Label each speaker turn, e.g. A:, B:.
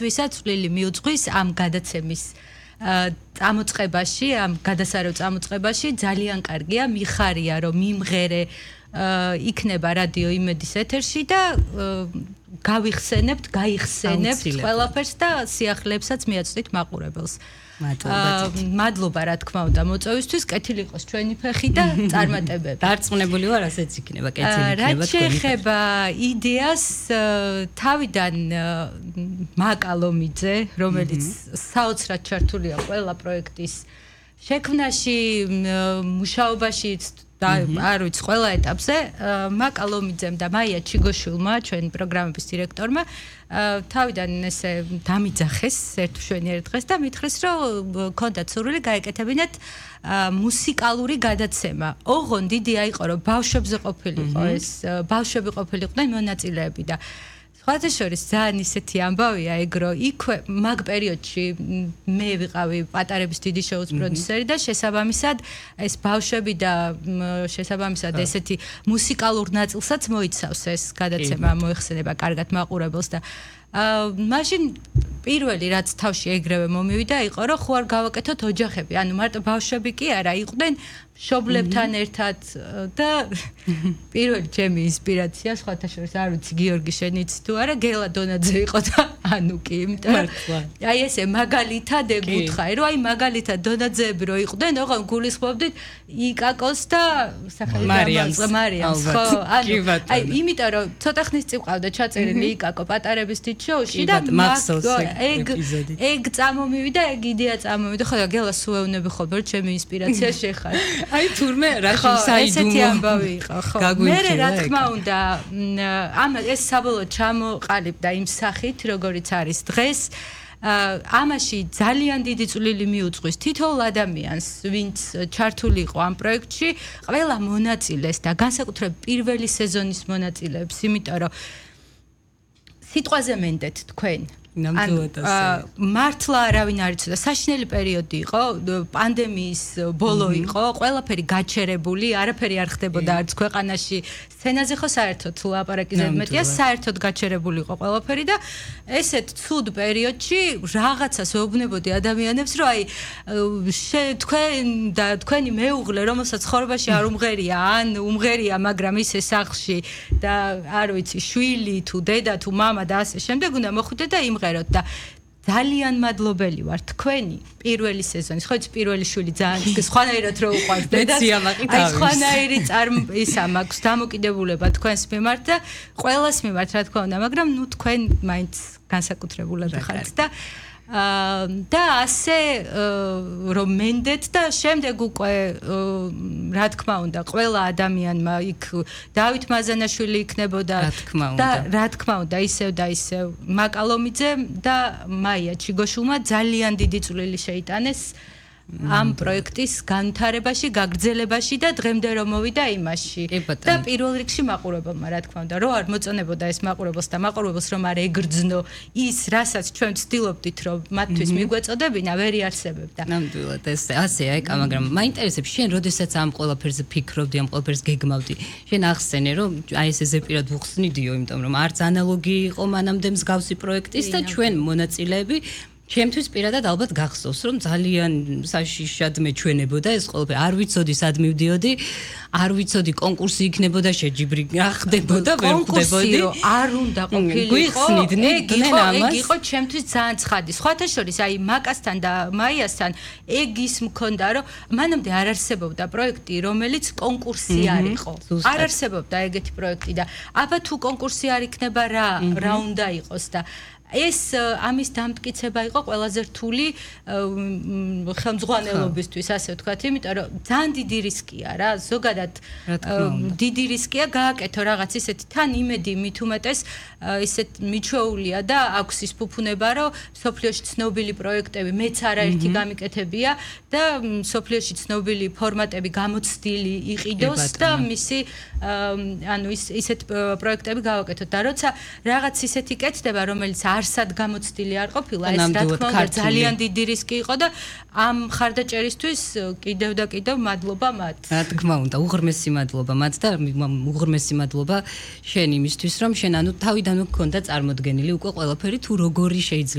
A: ვისაც წვლილი მიუძღვის ამ გადაცემის წამოწყებაში, ამ გადასარევ წამოწყებაში ძალიან კარგია, მიხარია რომ მიმღერე იქნება რადიო იმედის ეთერში და გავიხსენებთ, გაიხსენებთ ყველაფერს და სიახლეებსაც მიაწვდით მაყურებელს. მადლობა რა თქმა უნდა მოწვევისთვის, კეთილი იყოს ჩვენი ფეხი და წარმატებები.
B: დარწმუნებული ვარ, ასეც იქნება, კეთილი იქნება
A: თქვენი. რაც შეეხება იდეას, თავიდან მაკალომიძე, რომელიც საოცრად ჩართულია ყველა პროექტის შექმნაში, მუშაობაში და არ ვიცი ყველა ეტაპზე მაკალომიძემ და მაია ჩიგოშვილმა, ჩვენი პროგრამების დირექტორმა თავიდან ესე დამიძახეს ერთშვენიერ დღეს და მითხრეს რომ ქონდათ სურვილი გაეკეთებინათ მუსიკალური გადაცემა. ოღონდ იდეა იყო რომ ბავშვებზე ყოფილიყო ეს ბავშვები ყოფილიყვნენ მონაწილეები და სხვათა შორის ძალიან ისეთი ამბავია ეგ რომ იქვე მაგ პერიოდში მე ვიყავი პატარების დიდი შოუს პროდიუსერი და შესაბამისად ეს ბავშვები და შესაბამისად ესეთი მუსიკალურ ნაწილსაც მოიცავს ეს გადაცემა მოიხსენება კარგად მაყურებელს და მაშინ პირველი რაც თავში ეგრევე მომივიდა იყო რომ ხო არ გავაკეთოთ ოჯახები ანუ მარტო ბავშვები კი არა იყვნენ მშობლებთან ერთად და პირველი ჩემი ინსპირაცია სხვათა შორის არ ვიცი გიორგი შენ იცი თუ არა გელა დონაძე იყო და ანუკი იმიტომ აი ესე მაგალითად ეგ უთხარი რომ აი მაგალითად დონაძეები რო იყვნენ ოღონ გულისხმობდით იკაკოს და სახელი მარიამს ხო ანუ აი იმიტომ რომ ცოტა ხნის წინ ყავდა ჩაწერილი იკაკო პატარების დიდ შოუში და ეგ წამომივიდა ეგ იდეა წამომივიდა ხო და გელა სუეუნები ხოლმე რომ ჩემი ინსპირაცია შეხარ
B: აი თურმე რაში საიდუმლო
A: ესეთი ამბავი იყო ხო მე რა თქმა უნდა ამ ეს საბოლოოდ ჩამოყალიბდა იმ სახით როგორიც არის დღეს ამაში ძალიან დიდი წვლილი მიუძღვის თითოეულ ადამიანს ვინც ჩართული იყო ამ პროექტში ყველა მონაწილეს და განსაკუთრებით პირველი სეზონის მონაწილეებს იმიტომ რომ სიტყვაზე მენდეთ თქვენ მართლა არავინ არ იცოდა საშინელი პერიოდი იყო პანდემიის ბოლო იყო ყველაფერი გაჩერებული არაფერი არ ხდებოდა არც ქვეყანაში სცენაზე ხო საერთოდ ლაპარაკი მეტია საერთოდ გაჩერებული იყო ყველაფერი და ესეთ ცუდ პერიოდში რაღაცას ვეუბნებოდი ადამიანებს რომ აი თქვენ და თქვენი მეუღლე რომელსაც ცხოვრებაში არ უმღერია ან უმღერია მაგრამ ისე სახლში და არ ვიცი შვილი თუ დედა თუ მამა და ასე შემდეგ უნდა მოხვიდეთ და იმღეროთ და ძალიან მადლობელი ვარ თქვენი პირველი სეზონის ხო იცი პირველი შვილი ძალიან სხვანაირად რო უყვარს დედას აი სხვანაირი ისა მაქვს დამოკიდებულება თქვენს მიმართ და ყველას მიმართ რა თქმა უნდა მაგრამ ნუ თქვენ მაინც განსაკუთრებულად ხართ და ასე რომ მენდეთ და შემდეგ უკვე რა თქმა უნდა ყველა ადამიანმა იქ დავით მაზანაშვილი იქნებოდა და რა თქმა უნდა ისევ და ისევ მაკალომიძე და მაია ჩიგოშვილმა ძალიან დიდი წვლილი შეიტანეს ამ პროექტის განვითარებაში, გაგრძელებაში და დღემდე რომ მოვიდა იმაში. და პირველ რიგში მაყურებელმა, რა თქმა უნდა, რო არ მოწონებოდა ეს მაყურებელს და მაყურებელს რომ არ ეგრძნო ის, რასაც ჩვენ ვცდილობდით, რომ მათთვის მიგვეწოდებინა, ვერ იარსებებდა.
B: ნამდვილად ეს ასეა ეკა, მაგრამ მაინტერესებს შენ, როდესაც ამ ყველაფერზე ფიქრობდი, ამ ყველაფერს გეგმავდი. შენ ახსენე, რომ აი ეს ზეპირად ვუხსნიდიო, იმიტომ რომ არც ანალოგი იყო მანამდე მსგავსი პროექტის და ჩვენ მონაწილეები ჩემთვის პირადად ალბათ გახსოვს რომ ძალიან საშიშად მეჩვენებოდა ეს ყველაფერი არ ვიცოდი სად მივდიოდი არ ვიცოდი კონკურსი იქნებოდა შეჯიბრი ხდებოდა ვერ ხდებოდი
A: არ უნდა ყოფილიყო ეგ იყო ჩემთვის ძალიან ცხადი სხვათა შორის აი მაკასთან და მაიასთან ეგ ის მქონდა რომ მანამდე არ არსებობდა პროექტი რომელიც კონკურსი არ იყო არ არსებობდა ეგეთი პროექტი და აბა თუ კონკურსი არ იქნება რა უნდა იყოს და ეს ამის დამტკიცება იყო ყველაზე რთული ხელმძღვანელობისთვის ასე ვთქვათ, იმიტომ რომ ძალიან დიდი რისკია რა, ზოგადად დიდი რისკია გააკეთო რაღაც ისეთი თან იმედი მით უმეტეს ისეთ მიჩვეულია და აქვს ის ფუფუნება რომ სოფლიოში ცნობილი პროექტები მეც არაერთი გამიკეთებია და სოფლიოში ცნობილი ფორმატები გამოცდილი იყიდოს და მისი ანუ ისეთ პროექტები გავაკეთოთ და როცა რაღაც ისეთი კეთდება რომელიც არ არსად გამოცდილი არ ყოფილა, ეს რა თქმა უნდა ძალიან დიდი რისკი იყო და ამ მხარდაჭერისთვის კიდევ და კიდევ მადლობა მათ.
B: რა თქმა უნდა, უღრმესი მადლობა მათ და უღრმესი მადლობა შენ იმისთვის, რომ შენ თავიდანვე გქონდა წარმოდგენილი უკვე ყველაფერი თუ როგორი შეიძლება